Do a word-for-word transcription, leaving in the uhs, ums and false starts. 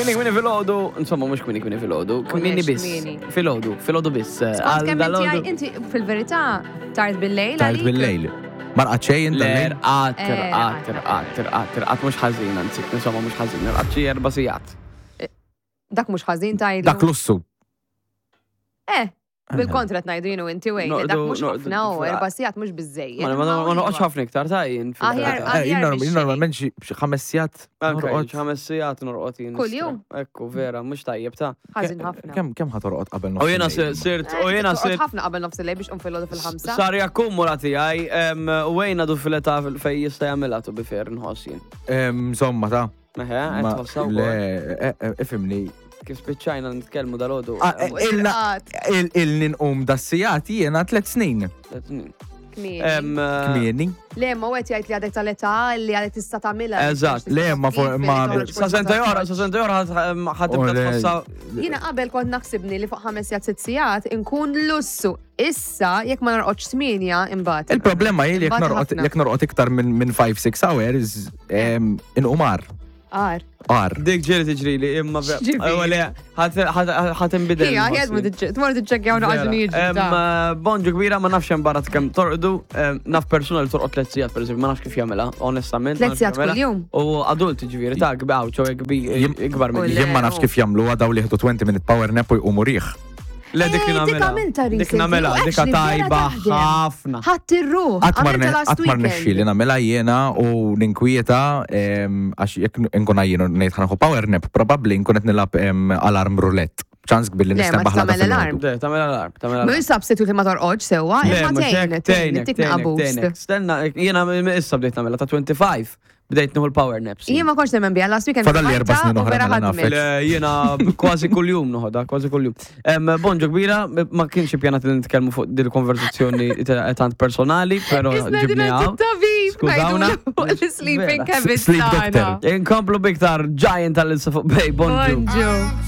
Kmieni kmieni filgħodu, insomma mhux kmieni kmieni filgħodu, kmieni lex biss. kmieni. Filgħodu, filgħodu biss. Skont Għal kemm inti dal-għodu- għaj- inti fil-verità tard bil-lejl Tard għalik? bil-lejl. Ma rqad xejn Le, dal-lejl? rqat, Eh, rqat, rqat. rqat, rqat, rqat, mhux ħażin, anzi, insomma mhux ħażin, rqat xi erba' sigħat. Dak mhux ħażin tgħidlu. Dak lussu. Eh, bil-kontra ngħidu jienu inti wejn, dak Noqdu- mhux noqdu ħafna u fil- erba' sigħat mhux biżejjed. Ma ma ma noqgħodx ħafna iktar ta' jien. Aħjar- fil-verità. Eh, jien aħjar norm- jien biex normalment xi xi ħames sigħat Anke, norqod. xi ħames sigħat norqod jien. Kull jum? Ekku, vera, mhux tajjeb ta'. Ħażin ħafna. Kemm kemm ħa torqod qabel nofs U jiena il-lejl? sirt, Eh, u jiena torqod sirt ħafna qabel nofs il-lejl biex tqum filgħodu fil-ħamsa. Sar jakkumula tiegħi, em, u wejn għadu fil-età fej jista' jagħmilha to be fair nħoss jien. Em, Insomma ta' Eħe, qed ma- tħossha wkoll. Le, eh, eh, ifhimni. Kif spiċċajna nitkellmu dal-għodu. Ah, eh, em, Ilna Irqad. il- il ninqum das-sigħat jiena tliet snin. tliet snin. Kmieni. Em, eh, Kmieni. Le, ma għet jgħid li għadek tal-età li għadek tista' tagħmilha. Eżatt. Le, ma for- ma- Sa senta oħra, sa senta oħra ħa tibda Oh, le. tħossha. Jiena qabel kont naħsibni li fuq ħames sigħat sitt sigħat inkun lussu. Issa jekk ma norqodx tmienja imbagħad. Il-problema hi li jekk Imbagħad norqod ħafna. jekk norqod iktar minn minn five six hours em, inqum għar. Għar. Għar. Dik ġieli tiġri li imma X'ġifieri? Le, ħa tinbidel. Hija, ħed ma tmur tiċċekkjaw noqgħod niġi. Em, eh, Bonġu kbira, ma nafx hemm barra kemm torqdu, em, naf persuna li torqod tliet sigħat pereżempju, ma nafx kif jagħmilha, onestament. ma Tliet nafx sigħat kif jagħmilha. kuljum? U adult ġifieri ta' kbaw, ċoe Jim- ikbar U minni. le. Jien ma nafx kif jagħmlu daw li jieħdu twenty minute power nap u jqumu riħ. Le, dik Eh, dik nagħmilha. għamilta Dik recently, nagħmilha, u dik actually vera tajba taħdem. ħafna. Ħadd ir-ruħ. Qatt ma Għamilta last qatt ma rnexxieli weekend. nagħmilha jiena u ninkwieta em, għax jekk nkun għajjien u ngħid ħa nieħu power nap, probabbli nkun qed nilgħab em, alarm roulette. Ċans kbir li Le, ma nistenbaħ l-għada tagħmel alarm. filgħodu. Le, tagħmel alarm, tagħmel alarm. Mhux substitute li ma torqodx sewwa, Le, imma mhux tgħin, hekk, tgħin, tgħinek, tik tgħinek, naqabust. tgħinek. Stenna, jiena issa bdejt nagħmilha ta' twenty-five, bdejt nieħu l-power naps. Jien ma kontx nemmen biha last weekend. Fadal li erba' snin u oħra vera mela ħadmet. nafek. Le, jiena kważi kuljum noħodha, kważi kuljum. Em, Bonġu kbira, ma kienx ippjanat li nitkellmu fuq dil konversazzjoni tant personali, però Isna ġibni din hawn. tabib Skużawna. l-sleeping Vera. habits Sleep tagħna. doctor. Inkomplu biktar Giant tal-insa fuq Bay, bonġu. Bonġu.